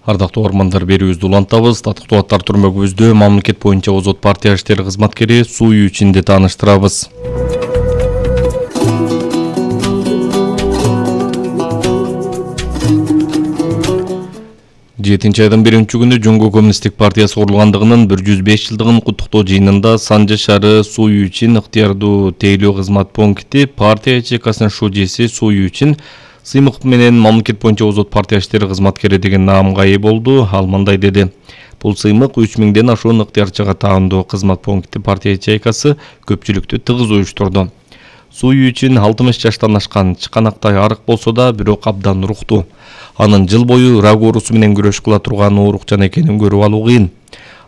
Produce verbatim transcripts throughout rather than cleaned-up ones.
Ардактуу ормандар берүүбүздү улантабыз. Татыктуу аттар түрмөгүбүздө мамлекет боюнча озот партия иштери кызматкери Суу Ючинди тааныштырабыз. жетинчи айдын биринчи күнү Жумгу коммунисттик партиясы курулгандыгынын бир жүз беш жылдыгын куттуктоо жыйынында Санжы шаары Суу Ючин ыктыярдуу тейлөө кызмат пункти партия ячейкасынын шужеси Суу Ючин сыймык менен мамлекет боюнча озот партия иштери кызматкери деген наамга ээ болду. Ал мындай деди: бул сыймык үч миңден ашуун ыктыярчыга таандуу кызмат пункти партия ячейкасы көпчүлүктү тыгыз уюштурду. Суу Ючин алтымыш жаштан ашкан, чыканактай арык болсо да бирок абдан руктуу. Анын жыл бою рак оорусу менен күрөш кыла турган оорукчан экенин көрүп алуу кыйын.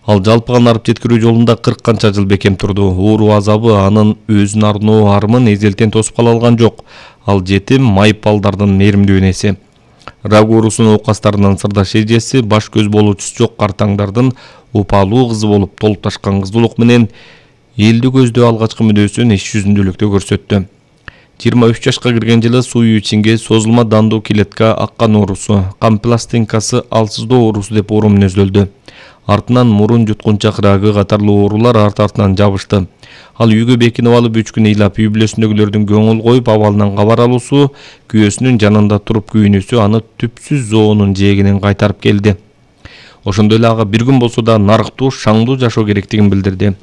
Ал жалпыган арып жеткирүү жолунда кырк канча жыл бекем турду. Оору азабы анын өзүн арноо армын эзелтен тосуп кала алган жок. Ал жетим майып балдардын мээримдүү энеси. Рак оорусунун оокастарынын сырдаш эжеси, баш көз болуучусу жок картаңдардын упалуу кызы болуп толуп ташкан кыздуулук менен элди көздөө алгачкы мүнөзүн иш жүзүндөлүктө көрсөттү. жыйырма үч жашка кирген жылы Суу Ючинге созулма дандуу килетка аккан оорусу, кан пластинкасы алсыздоо оорусу деп оору мүнөздөлдү. Артынан мурун жуткунчак рагы катарлуу оорулар арт-артынан жабышты. Ал үйгө бекинип алып үч күн ыйлап үй бүлөсүндөгүлөрдүн көңүл коюп абалынан кабар алуусу, күйөөсүнүн жанында туруп күйүнүүсү аны түпсүз зоонун жээгинен кайтарып келди. Ошондой эле ага бир күн болсо да нарыктуу, шаңдуу жашоо керектигин билдирди.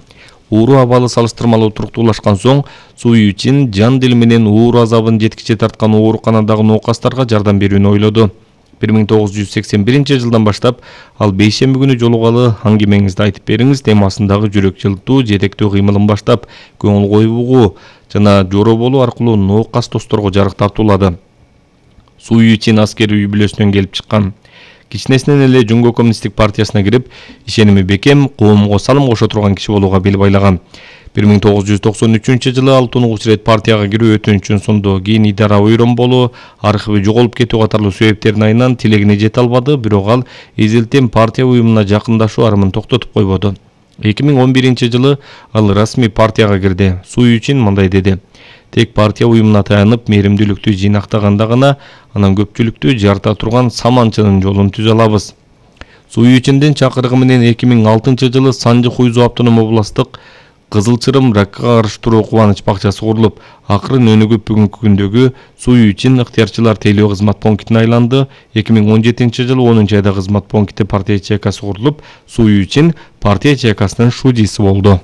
Ууру абалы салыштырмалуу туруктуулашкан соң Суу Ючин жан дил менен ууру азабын жеткиче тарткан ооруканадагы ноокастарга жардам берүүнү ойлоду. бир миң тогуз жүз сексен биринчи жылдан баштап ал бейшемби күнү жолугалы аңгемеңизди айтып бериңиз темасындагы жүрөк жылтуу жетектөө кыймылын баштап көңүл коюп угуу жана жоро болуу аркылуу ноокас досторго жарык тартуулады. Суу Ючин аскери үй бүлөсүнөн келип чыккан. Кичинесинен эле Жумгу коммунисттик партиясына кирип, ишеними бекем, коомго салым кошо турган киши болууга бел байлаган. бир миң тогуз жүз токсон үчүнчү жылы ал тунугуч ирет партияга кирүү өтүнүчүн сунду. Кийин идара ойрон болуу, архиви жоголуп кетүү катарлуу себептердин айынан тилегине жете албады, бирок ал эзелтен партия уюмуна жакындашуу армын токтотуп койбоду. эки миң он биринчи жылы ал расмий партияга кирди. Суу Ючин мындай деди: тек партия уюмуна таянып, мээримдүүлүктү жыйнактаганда гана анан көпчүлүктү жарыта турган саманчынын жолун түзө алабыз. Суу Ючиндин чакырыгы менен эки миң алтынчы жылы Санжы Хуйзу автоном областтык Кызыл Чырым ракка каршы туруу кубаныч бакчасы курулуп, акырын өнүгүп бүгүнкү күндөгү Суу Ючин ыктыярчылар тейлөө кызмат пунктине айланды. эки миң он жетинчи жылы онунчу айда кызмат пункти партия ячейкасы курулуп, Суу Ючин партия ячейкасынын шужеси болду.